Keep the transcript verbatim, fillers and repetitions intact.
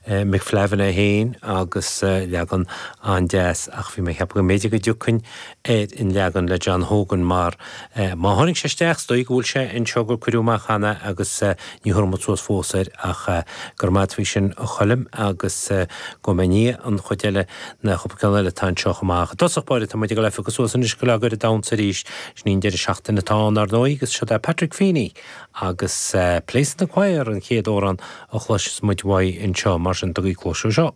McFlavin é féin agus leagan an-deas ach bhí mé ag ceapadh go mb'fhéidir go dtiocfainn ar an leagan le John Hogan mar má tháinig sé isteach is dóigh go bhfuil sé anseo gur cuireadh amach cheana agus ní thabharfaidh muid suas fós air ach go raibh maith agat faoi sin a Choilm agus go mbeidh ní an chuid eile na cúpla ceann eile atá anseo chomh maith. I dtosach báire tá muid ag dul a phiocadh suas anois go leagan ar an damhsa arís sin í an deireadh seachtaine atá ann ar ndóigh agus seo é Patrick Feeney agus Place in the Choir an chéad amhrán a chloisfeas muid uaidh anseo mar sin tugaigí cluas seo.